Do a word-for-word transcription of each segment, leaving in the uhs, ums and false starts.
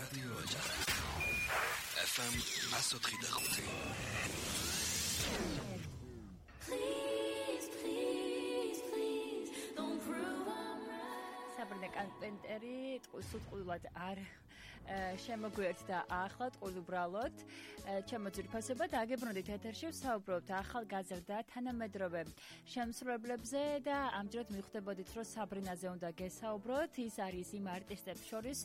რადიო ოჯახი. ეფ ემ one oh three point five. Please, please, please, don't prove I'm right. საბრინე კარპენტერი სულყუდულად არ შემოგვიერთდა ახლად უბრალოდ ჩემო ძირფასება დაგებრუნდით ეთერში ვსაუბრობთ ახალგაზრდა თანამედროვე შემსრულებლებზე და ამჯერად მივხვდებოდით რომ საბრინაზე უნდა გესაუბროთ ის არის იმ არტისტებს შორის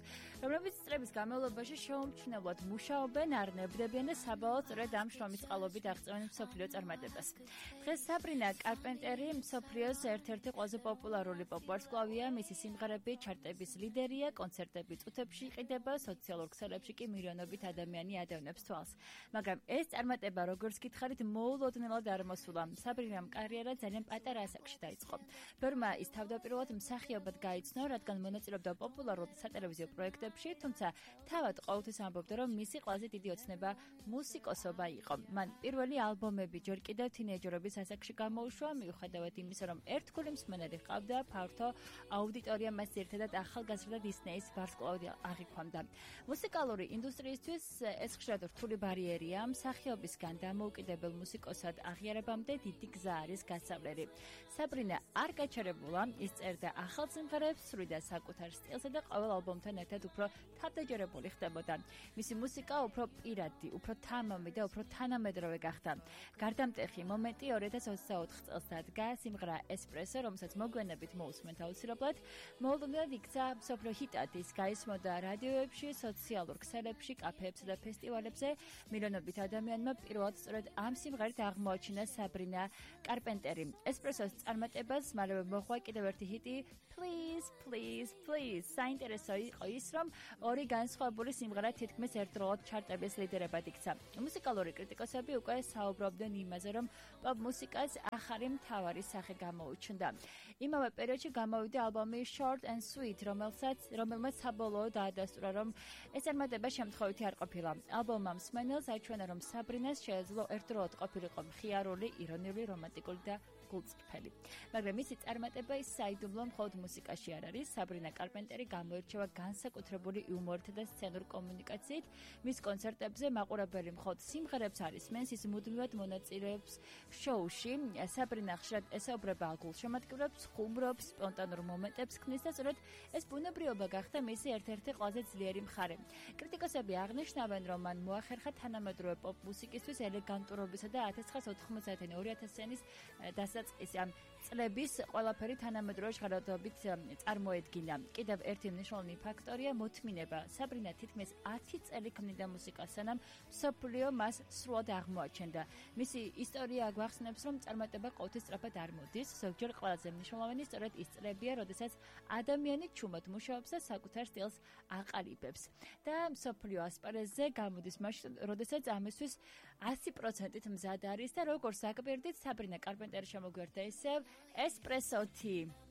რომლებიც წლების განმავლობაში შეუმჩნევლად მუშაობენ არ ნებდებიან და საბოლოოდ სწორედ ამ შრომის წყალობით აღწევენ მსოფლიო წარმატებას დღეს საბრინა კარპენტერი მსოფლიოს ერთ-ერთი ყველაზე პოპულარული პოპ-ვარსკვლავია მისი სიმღერები ჩარტების ლიდერია კონცერტები წუთებში იყიდება სოციალურ ქსელებში კი მილიონობით ადამიანი ადევნებს თვალს. მაგრამ ეს წარმატება როგორც გითხარით მოულოდნელად არ მოსულა. საბრინამ კარიერა ძალიან პატარა ასაკში დაიწყო. ბევრმა ის თავდაპირველად მსახიობად გაიცნო, რადგან მონაწილეობდა პოპულარულ სატელევიზიო პროექტებში, თუმცა თავად ყოველთვის ამბობდა, რომ მისი ყველაზე დიდი ოცნება მუსიკოსობა იყო. მან პირველი ალბომები ჯერ კიდევ თინეიჯერობის ასაკში გამოუშვა, მიუხედავად იმისა, რომ ერთგული მსმენელი ჰყავდა, ფართო აუდიტორია მას ერთადად ახალგაზრდა დისნეის ვარსკვლავად აღიქვამდა. მუსიკალური ინდუსტრიისთვის ეს ხშირად რთული ბარიერია, მსახიობისგან დამოუკიდებელ მუსიკოსად აღიარებამდე დიდი გზა არის გასავლელი. საბრინა არ გაჩერებულა, ის წერდა ახალ სიმღერებს, სრულდა საკუთარ სტილსა და ყოველ ალბომთან ერთად უფრო თავდაჯერებული ხდებოდა. მისი მუსიკა უფრო პირადი, უფრო თამამი და უფრო თანამედროვე გახდა. გარდამტეხი მომენტი ორი ათას ოცდაოთხ წელს დადგა სიმღერა ესპრესო, რომელსაც მოგვიანებით მოусმენთ აუცილებლად. მოულოდნელად იქცა მსოფლიო ჰიტად, ის გაისმოდა რადიოებში, სოციალურ ქსელებში, კაფეებსა და ფესტივალებზე. მილიონობით ადამიანმა პირველად სწორედ ამ სიმღერით აღმოაჩინა საბრინა კარპენტერი. ესპრესოს წარმატებას მალევე მოჰყვა კიდევ ერთი ჰიტი Please, please, please. საინტერესო იყო ის, რომ ორი განსხვავებული სიმღერა თითქმის ერთდროულად ჩარტების ლიდერებად იქცა. მუსიკალური კრიტიკოსები უკვე საუბრობდნენ იმაზე, რომ პოპ მუსიკას ახალი მთავარი სახე გამოუჩნდა. იმავე პერიოდში გამოვიდა ალბომი Short and Sweet, რომელსაც რომელმაც საბოლოოდ დაადასტურა, რომ ეს წარმატება შემთხვევითი არ ყოფილა. ალბომმა მსმენელს აჩვენა, რომ საბრინას შეეძლო ერთდროულად ყოფილიყო მხიარული, ირონიული, რომანტიკული და გულწრფელი. მაგრამ მისი წარმატება ის საიდუმლო მხოლოდ მუსიკაში არ არის. საბრინა კარპენტერი გამოირჩევა განსაკუთრებული იუმორით და სცენურ კომუნიკაციით. მის კონცერტებზე მაყურებელი მხოლოდ სიმღერებს არ ისმენს, ის მუდმივად მონაწილეობს შოუში. საბრინა ხშირად ესაუბრება გულშემატკივრებს, ხუმრობს, სპონტანურ მომენტებს ქმნის და სწორედ ეს ბუნებრიობა გახდა მისი ერთ-ერთი ყველაზე ძლიერი მხარე. კრიტიკოსები აღნიშნავენ, რომ მან მოახერხა თანამედროვე პოპ მუსიკისთვის ელეგანტურობისა და ათას ცხრაასა ოთხმოციანი ორი ათასიანი დასაწყისი ამ წლების ყველაფერი თანამედროვე ჟღერადობით წარმოედგინა. კიდევ ერთი მნიშვნელოვანი ფაქტორია მოთმინება. საბრინა თითქმის ათი წელი ქმნიდა მუსიკას, სანამ მსოფლიო მას სრულად აღმოაჩენდა. მისი ისტორია გვახსენებს, რომ წარმატება ყოველთვის სწრაფად არ მოდის. ზოგჯერ ყველაზე მნიშვნელოვანი სწორედ ის წლებია, როდესაც ადამიანი ჩუმად მუშაობს და საკუთარ სტილს აყალიბებს. და მსოფლიო ასპარეზზე გამოდის მაშინ, როდესაც ამისთვის ასი პროცენტით მზად არის და როგორც საკვირდით, საბრინა კარპენტერი შემოგვიერთდა ისევ ესპრესოთი.